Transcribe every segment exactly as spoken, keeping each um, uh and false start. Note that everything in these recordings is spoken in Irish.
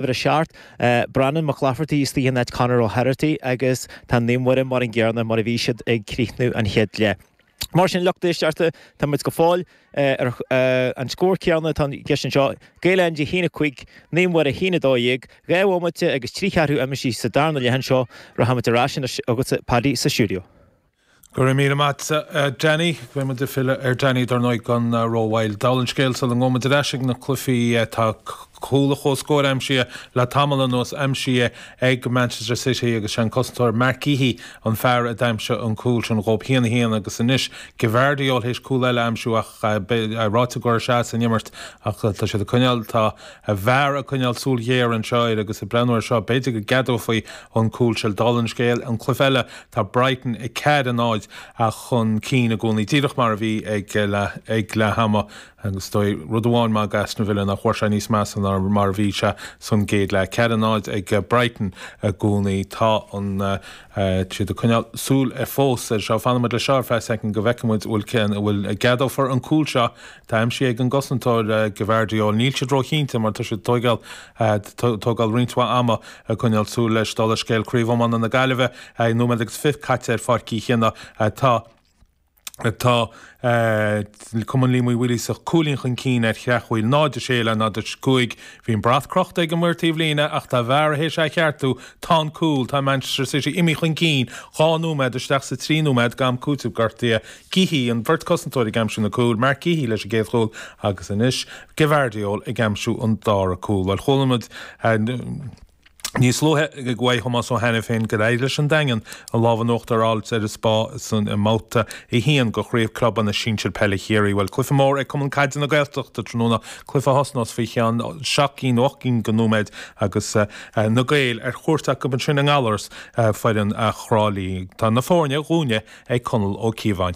Uimhir a seacht, Breandán Mac Laifeartaigh istigh in áit Conor O'Herity agus tá Naomh Muire mar an gcéanna mar a bhí siad ag críochnú an chéad leath. Mar sin, lucht éisteachta, tá muid go fóill ar an scór céanna atá i gceist anseo, Gaeil Andy a haon a cúig, Naomh Muire a haon a dó dhéag, dhá bhomaite agus trí cheathrú imithe sa darna leath anseo. Rachaimid ar ais anois chugatsa, Paddy, sa stiúideo. Go raibh míle maith agat, Danny. Beidh muid ag filleadh ar Danny dar ndóigh gan rómhoill. Dála an scéil, sula ngabhfaidh muid ar ais ag na cluichí, tá cúl an chomhscóir aimsithe le tamall anuas, aimsithe ag Manchester City agus sé an cosantóir Marc Guéhi an fear a d'aimsigh an cúl sin dhóibh, haon a haon agus anois Gvardiol théis cúl eile a aimsiú ach ráite go raibh sé as an imirt ach tá siad ag coinneáil, tá VAR ag coinneáil súil ghéar anseo air agus ag breathnú air seo b'fhéidir go gceadófaí an cúl sin. Dála an scéil, an cluiche eile, tá Brighton ag ceathair a náid chun cinn i gcónaí, díreach mar a bhí ag ag leath ama agus is dóigh rud amháin maith d'Aston Villa nach bhfuair sé níos measa ná mar a bhí sé san gcéad leath. Ceathair a náid ag Brighton i gcónaí. Tá an siad ag coinneáil súil fós air seo. Fanfaidh muid leis seo ar feadh soicind go bhfeicfidh muid bhfuil cén bhfuil gceadófar an cúl seo. Tá aimsithe ag an gcosantóir Gvardiol. Níl siad róchinnte mar tá siad tógáil tógáil roinnt mhaith ama ag coinneáil súil leis. Dála scéil Craobh Iomána na Gaillimhe, nóiméad agus fiche caite ar Pháirc Uí Chionnaith. Tá Tá Cumann Liam Uí Mhaoilíosa cúilín chun cinn ar Chreachmhaoil, náid a sé le náid a cúig. Bhí an brat crochta ag an maor taobhlíne ach tá VAR théis é a cheartú. Tá an cúl, tá Manchester City imithe chun cinn dhá nóiméad isteach sa trí nóiméad d'am cúitimh gortaithe. Guéhi, an bheirt cosantóir ag aimsiú na cúil, Marc Guéhi leis an gcéad chúl agus anois Gvardiol ag aimsiú an dara cúl. Bhuel, chuala muid níos luaithe uaidh Thomás Ó hAiniféin gur éirigh leis an Daingean an lámh in uachtar a fháilt ar an Spá san i mbabhta a haon de Chraobh Clubanna Sinsir Peile Chiarraí. Bhuel, cluiche mór ag Cumann Caide na Gaeltachta tráthnóna, cluiche a thosnós faoi cheann seacht gcinn nó ocht gcinn de nóiméid agus na Gaeil ar chuairt acu ansin i nGallaras, foireann Thrá Lí. Tá na foirne dhúinne ag Conall Ó Cíobháin.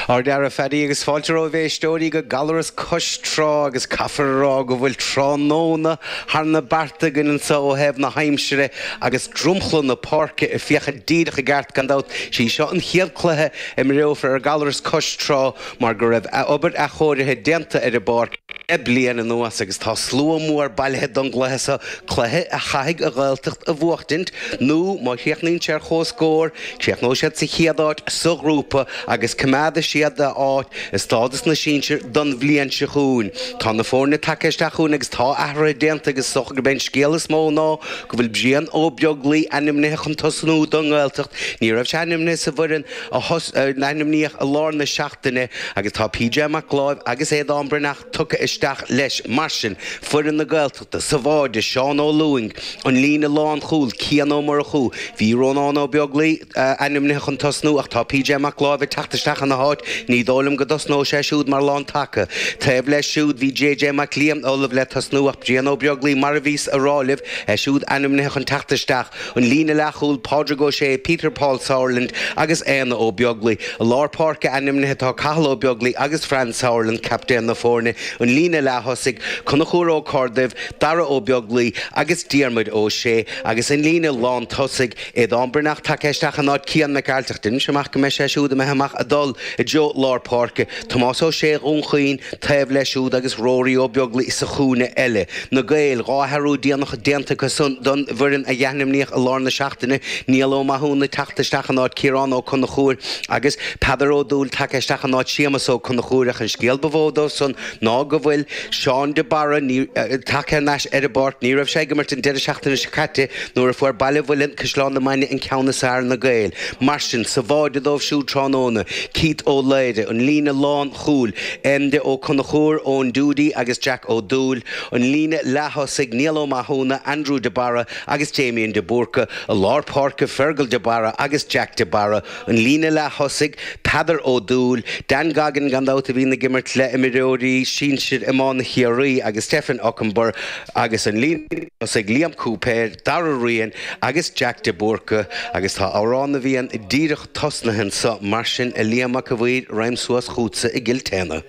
Ár dara Phaddy agus fáilte romhaibh éisteoirí go Gallaras cois trá agus caithfear a rá go bhfuil tráthnóna thar na bearta againn anseo ó thaobh na haimsire agus dromchla na páirce ag féachaint díreach i gceart gan dabht. Sí seo an chéad cluiche a imreofar ar Gallaras cois trá mar go raibh obair athchóirithe déanta ar an bpáirc le bliain anuas agus tá slua mór bailithe don gcluiche seo, cluiche a chaithfidh an Ghaeltacht a bhuachtaint nó má chríochnaíonn sé ar comhscór, críochnóidh siad sa chéad áit sa ghrúpa agus coimeádfaidh siad a áit i stádas na sinsir don bhliain seo chugainn. Tá na foirne tagtha isteach chugainn agus tá athruithe déanta agus is dócha gurb é an scéal is mó ná go bhfuil Brian Ó Beaglaoi ainmnithe chun tosnú don nGaeltacht. Ní raibh sé ainmnithe sa bhfoireann a ainmníodh i lár na seachtaine agus tá P J Mac Láimh agus Aodán Breathnach tugtha isteach leis. Mar sin, foireann na Gaeltachta, sa bháide, Seán Ó Lúing, an líne lánchúil, Cian Ó Murchú, bhí Rónán Ó Beaglaoi ainmnithe chun tosnú ach tá P J Mac Láimh ag teacht isteach ina háit, ní dóigh liom go dtosnóidh sé siúd mar lántaca. Taobh leis siúd bhí J J Mac Liam ullamh le tosnú ach Brian Ó Beaglaoi mar a bhíos a rá libh, é siúd ainmnithe chun teacht isteach. An líne leathchúil, Pádraig Ó Sé, Peter Paul Sauerland agus Éanna Ó Beaglaoi. I lár páirce ainmnithe tá Cathal Ó Beaglaoi agus Fran Sauerland, captaen na foirne. An líne leath-thosaigh, Conchúr Ó Corrduibh, Dara Ó Beaglaoi agus Diarmuid Ó Sé agus an líne lán-tosaigh, Aodán Breathnach tagtha isteach in áit Cian Mac Gearailt ach deirimse amach go mbeidh sé siúd imithe amach ag dul i dtreo lár páirce. Tomás Ó Sé Dhún Chaoin taobh leis siúd agus Rory Ó Beaglaoi sa chúinne eile. Na Gaeil, dhá athrú déanach déanta acu san don bhfoireann a ainmníodh i lár na seachtaine, Niall Ó Mathúna teacht isteach in áit Ciarán Ó Conchúir agus Peadar Ó Dúill tagtha isteach in áit Séamus Ó Conchúir ach an scéal ba mhó dóibh san ná go bhfuil Seán de Barra tagtha thar n-ais ar an bpáirc. Ní raibh sé ag imirt an deireadh seachtaine seo caite nuair a fuair Baile Mhuilinn, Caisleán na Mainge an ceann is fearr ar na Gaeil. Mar sin, sa bháide dóibh siúd tráthnóna, Keith Ó Laoire, an líne lánchúil, Enda Ó Conchúir, Eoin Doody agus Jack Ó Dúill, an líne leath-thosaigh, Niall Ó Mathúna, Andrew de Barra agus Damien de Búrca, i lár páirce, Fergal de Barra agus Jack de Barra, an líne leath-thosaigh, Peadar Ó Dúill, Dan Goggin gan dabht a bhíonn ag imirt le imreoirí sinsir iomána Chiarraí agus Stephen Okunbor agus an líne thosaigh, Liam Cúipéir, Dara Ryan agus Jack de Búrca agus tá Amhrán na bhFiann díreach tosnaithe anso mar sin a Liam Mac a' Mhaoir, ragham suas chughatsa i gCill Téanna.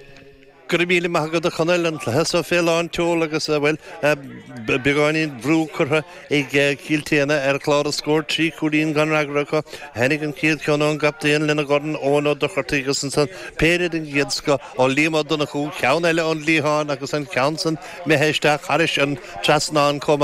Go raibh míle maith agat a Chonaill, an cluiche seo fé lán tseoil agus, bhuel, beagáinín brú curtha ag Cill tSéadhna ar chlár na scór, trí chúilín gan fhreagra acu. Tháinig an chéad cheann ón gcaptaen lena dhorn, Eoin Ó Dochartaigh agus ansan péire den gcéad scoth ó Liam Ó Donnchú, ceann eile ón liathán agus an ceann san imithe isteach thairis an trasnán chomh maith.